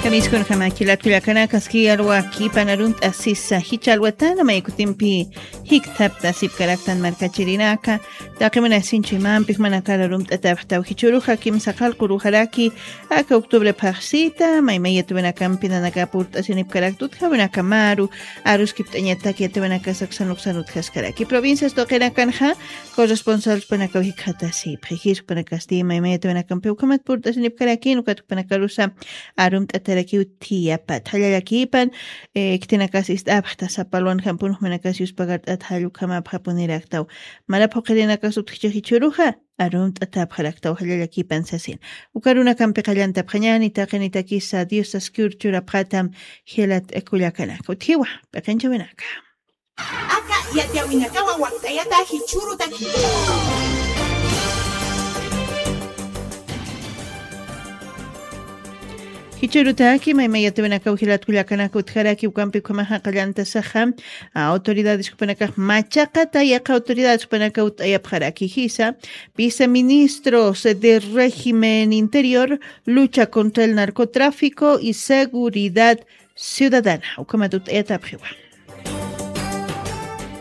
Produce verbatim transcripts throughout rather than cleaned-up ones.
Kamiskunjama jilat kullakanaka, aski alwa kipan arunt'asisa jichha alwatana maykutimpi jikthaptasipkaraktan markachirinaka. Taqi munasiñ chuymampix manakar arumt'atapxtaw jichhüruxa kimsa qallqu uruxaraki aka octubre phaxsita maymay yatawinakampi nanaka purt'asinipkarakta utjawinakamaru aruskipt'añataki yatawinakas aksan uksan utjaskaraki. Provincias tuqinakanxa corresponsalspanakaw jikxatasipxi. Jispanakasti maymay yatawinakampi ukhamat purt'asinipkarakin ukat jupanakarusa arumt'atarakiw thiyapat. Jallallakipan, eh, khitinakas ist'apxta sapalwan jampun jumanakas yuspagart'at jall ukhamapxapuniraktaw. Mara phuqirinakas utjcha jichhüruxa arumt'atapxaraktaw jallallakipan sasin. Uka arunakampi qallantapxañäni taqinitakisa Dios saskiw churapxatam jilat kullakanaka. Utjiwa, p'iqinchawinaka. Aka yatiyawinakawa wakt'ayata jichhürutaki. Jichhürutaki maymay yatawinakaw jilat kullakanaka utjaraki ukampi ukhamaxa qallantasaxa, a, autoridades jupanakax machaqata yaqha autoridades jupanakaw ut'ayapxaraki jisa, viceministros de régimen interior, lucha contra el narcotráfico y seguridad ciudadana. Ukhamat ut'ayatapxiwa.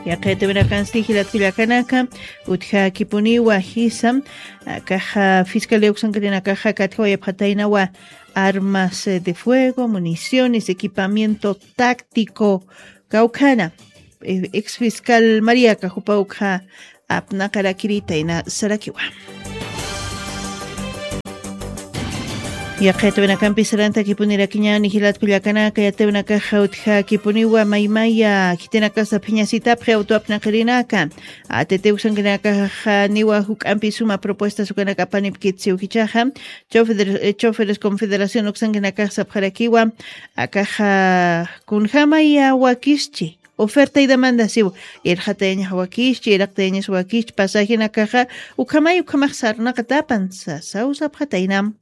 Yaqha yatawinakansti jilat kullakanaka, utjakipuniwa jisa, akaxa fiscalía uksankarinakaxa katjawayapxataynawa armas, eh, de fuego, municiones, equipamiento táctico, kawkhana, eh, ex fiscal Mariaka jupa ukxa apnaqarakirïtayna sarakiwa. Yaqha yatawinakampi sarantakipunirakiñäni jilat kullakanaka, yatawinakaxa utjakipuniwa maymaya khitinakasa phiñasitapxi auto apnaqirinaka. A T T uksankinakaxa niwa juk'ampi suma propuestas ukanaka apanipkit siw jichhaxa. Chofer, eh, Choferes Confederación uksankinakax sapxarakiwa. Akaxa kunjamaya wakischi. Oferta y demanda siw, irxatayañax wakischi, iraqtayañas wakischi, pasajenakaxa, ukhamay, ukhamax sarnaqatapan, sasaw sapxataynam.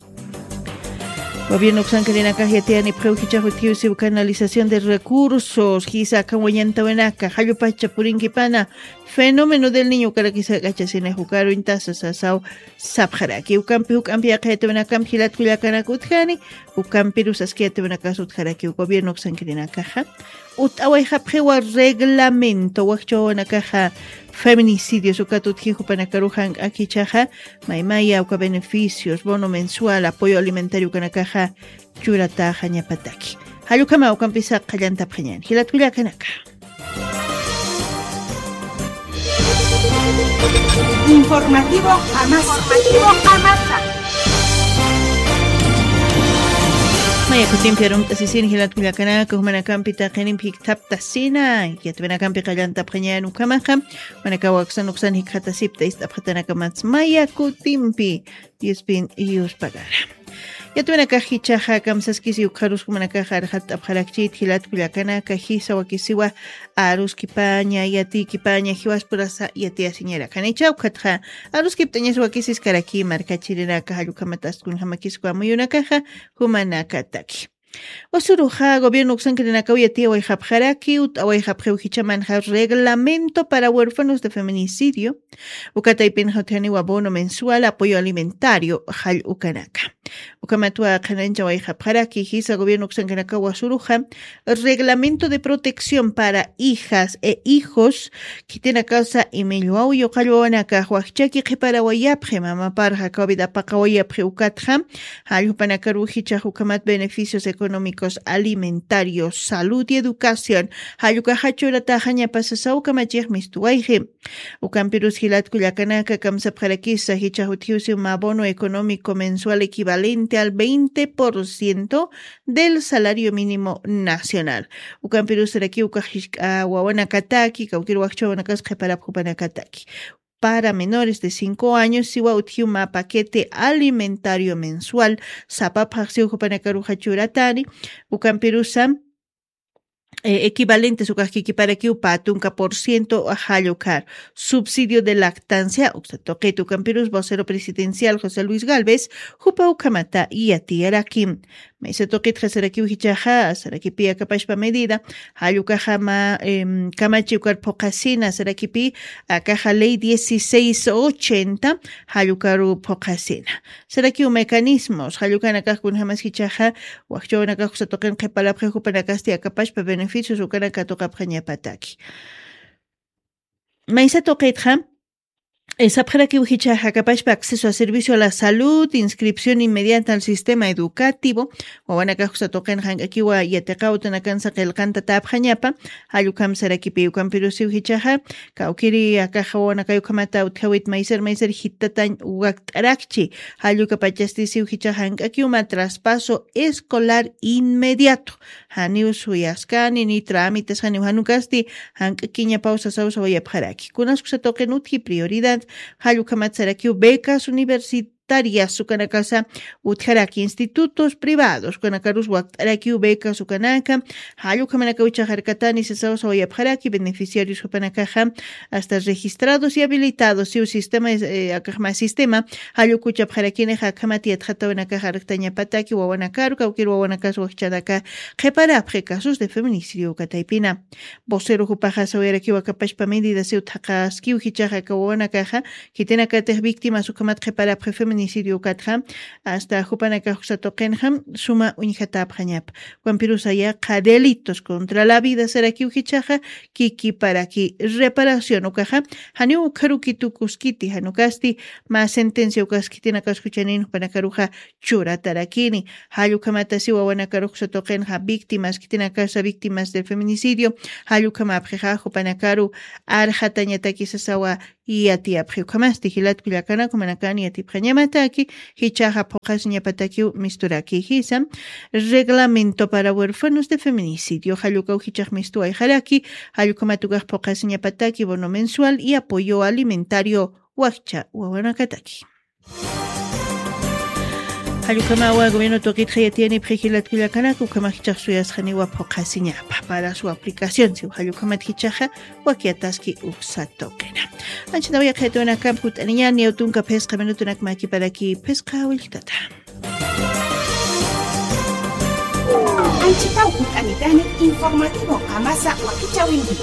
Gobierno uksankirinakax yatiyanipxiw jichhax utjiw siw canalización de recursos, jisa akan wañantawinaka, jallupacha purinkipana, fenómeno del niño ukarakisa jak'achasinix ukaruñtasa sasaw sapxaraki. Ukampi, ukampi yaqha yatawinakampi jilat kullakanaka utjani, ukampirus aski yatawinakas utjaraki gobierno uksankirinakaxa. Ut'awayxapxiwa reglamento, wakch'awanakaxa feminicidios ukat utji jupanakaruxa jank'aki jichhaxa, maymaya uka beneficios, bono mensual, apoyo alimentario ukanakaxa churataxañapataki. Jall ukhama ukampisa qallantapxañäni. Jilat kullakanaka. Informativo Jamasa. Informativo Jamasa. Maya kutimpi arumt'asisin jilat kullakanaka, jumanakampi taqinimpi jikthaptasina, yatawinakampi qallantapxañäni ukhamaxa, jumanakaw aksan uksan jikxatasipta ist'apxatanakamatsa maya kutimpi Diospin yuspagara. Yatawinakax jichhaxa kamsaskisi ukxarus jumanakax arxatt'apxarakchit jilat kullakanaka, jisa wakisiwa aruskipaña, yatikipaña, jiwaspurasa yatiyasiñarakanicha ukhatxa aruskipt'añas wakisiskaraki markachirinaka, jall ukhamat astkun jamakisku amuyunakaxa jumanakataki. Usuruxa gobierno uksankirinakaw yatiyawayxapxaraki, ut'awayxapxiw jichhamanxa reglamento para huérfanos de feminicidio, uka taypinxa utjaniwa bono mensual, apoyo alimentario, jall ukanaka. Ukhamatwa qhananchawayxapxaraki, jisa gobierno uksankanakawa usuruxa, reglamento de protección para hijas e hijos, khitinakasa imillwaw yuqallwawanakax wakchaki qhiparawayapxi, mamaparxa covid apaqawayapxi ukatxa, jall jupanakaru jichhax ukhamat beneficios económicos, alimentarios, salud y educación, jall ukaxa churataxañapa sasaw kamachix mistuwayxi. Ukampirus jilat kullakanaka kamsapxarakisa jichhax utjiw siw mä bono económico mensual equivalente al veinte por ciento del salario mínimo nacional. Ukampirus sarakiw ukax jisk'a wawanakataki, kawkir wakch'awanakas qhiparapxi jupanakataki. Para menores de cinco años siwa utjiw mä paquete alimentario mensual, sapa phaxsiw jupanakaruxa churatani, ukampirusa, eh, equivalentes ukax kikiparakiw pä tunka por ciento jall ukar. Subsidio de lactancia, uksa tuqit ukampirus vocero presidencial José Luis Galvez, jupa ukhamata yatiyarakim. Maysa tuqitxa sarakiw jichhaxa, sarakipi akapashpa medida, jall ukaxa mä, em, kamachi ukar phuqhasina, sarakipi akaxa ley dieciséis ochenta, jall ukaru phuqhasina. Sarakiw mecanismos, jall ukanakax kunjamas jichhaxa, wakcha wawanakax uksa tuqin qhiparapxi jupanakasti akapashpa beneficios ukanaka tuqapxañapataki. Maysa tuqitxa, eh, sapxarakiw jichhaxa akapashpa acceso a servicio a la salud, inscripción inmediata al sistema educativo, wawanakax uksa tuqin jank'akiwa yatiqaw utanakansa qillqantatäpxañapa, jall ukham sarakipi ukampirusiw jichhaxa, kawkiri akaxa wawanakay ukhamata utjawit maysar maysar jitatañ wakt'arakchi, jall ukapachasti siw jichhaxa jank'akiw mä traspaso escolar inmediato, janiw suyaskani, ni trámites, janiw jan ukasti, jank'akiñapaw sasaw sawayapxaraki. Kunas uksa tuqin utji prioridad, jall ukhamat sarakiw becas universitarias ukanakasa utjaraki institutos privados, ukanakarus wakt'arakiw becas ukanaka, jall ukhamanakaw jichhaxa arkatani sasaw sawayapxaraki, beneficiarios jupanakaxa, hasta registrados y habilitados, siw sistema, eh, akaxma sistema, jall ukuchapxarakinixa akhamat yatxatawanakaxa arktañapataki wawanakaru, kawkir wawanakas wakchanaka qhiparapxi casos de feminicidio uka taypina. Vocero jupaxa sawayarakiw akapashpa medida siw thaqaskiw jichhaxa aka wawanakaxa, khitinakatix víctimas ukhamat qhiparapxi feminicidio ukatxa, hasta jupanakax uksa tuqinxa suma uñjatäpxañapa. Ukampirus yaqha delitos contra la vida sarakiw jichhaxa, kikiparaki reparación ukaxa, janiw ukharuki tukuskiti, jan ukasti, mä sentencia ukas khitinakas juchanin jupanakaruxa churatarakini. Jall ukhamata siw wawanakarux uksa tuqinxa víctimas, khitinakasa víctimas del feminicidio, jall ukhamapxixa jupanakaru arxatañataki sasawa yatiyapxi. Ukhamasti jilat kullakanak, jumanakan yatipxañamataki, jichhaxa phuqhasiñapatakiw misturaki jisa, reglamento para huérfanos de feminicidio, jall ukaw jichhax mistuwayxaraki, jall ukhamat ukax phuqhasiñapataki bono mensual y apoyo alimentario wakcha wawanakataki. Jall ukhamawa gobierno tuqitxa yatiyanipxi jilat kullakanak, ukhamax jichhax suyasxaniwa phuqhasiñapa para su aplicación, siw jall ukhamat jichhaxa wakyataski uksa tuqina. Anchhitaw yaqhitunakamp jut'aniñäni, tunka phisqa minutunak makiparaki phisqa willktata. Anchhitaw jut'anitani, informativo qamasa wakichäwinti.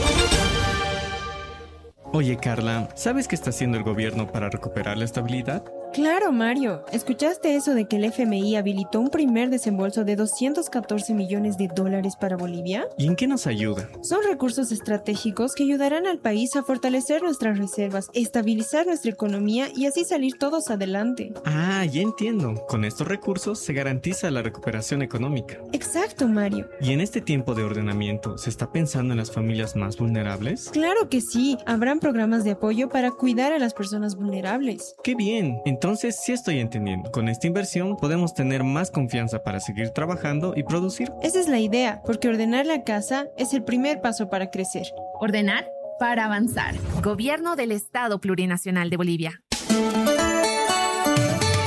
Oye, Carla, ¿sabes qué está haciendo el gobierno para recuperar la estabilidad? Claro, Mario. ¿Escuchaste eso de que el F M I habilitó un primer desembolso de doscientos catorce millones de dólares para Bolivia? ¿Y en qué nos ayuda? Son recursos estratégicos que ayudarán al país a fortalecer nuestras reservas, estabilizar nuestra economía y así salir todos adelante. Ah, ya entiendo. Con estos recursos se garantiza la recuperación económica. Exacto, Mario. ¿Y en este tiempo de ordenamiento se está pensando en las familias más vulnerables? Claro que sí, habrán programas de apoyo para cuidar a las personas vulnerables. Qué bien, entonces sí estoy entendiendo. Con esta inversión podemos tener más confianza para seguir trabajando y producir. Esa es la idea, porque ordenar la casa es el primer paso para crecer. Ordenar para avanzar. Gobierno del Estado Plurinacional de Bolivia.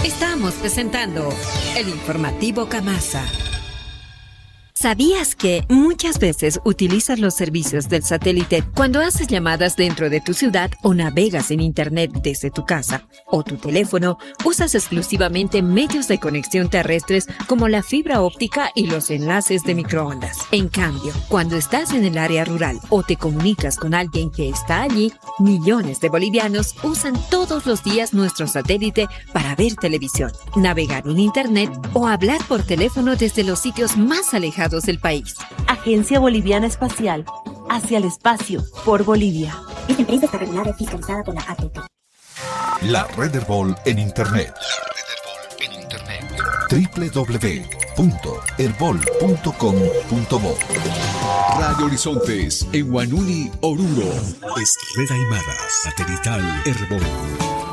Estamos presentando el informativo Kamasa. ¿Sabías que muchas veces utilizas los servicios del satélite cuando haces llamadas dentro de tu ciudad o navegas en internet desde tu casa o tu teléfono? Usas exclusivamente medios de conexión terrestres como la fibra óptica y los enlaces de microondas. En cambio, cuando estás en el área rural o te comunicas con alguien que está allí, millones de bolivianos usan todos los días nuestro satélite para ver televisión, navegar en internet o hablar por teléfono desde los sitios más alejados del país. Agencia Boliviana Espacial, hacia el espacio, por Bolivia. Esta empresa está regulada y fiscalizada por la A T T. La Red Erbol en Internet. La Red Erbol en Internet. W W W punto erbol punto com punto bo. Radio Horizontes en Huanuni, Oruro. Es Red Aymara, satelital Erbol.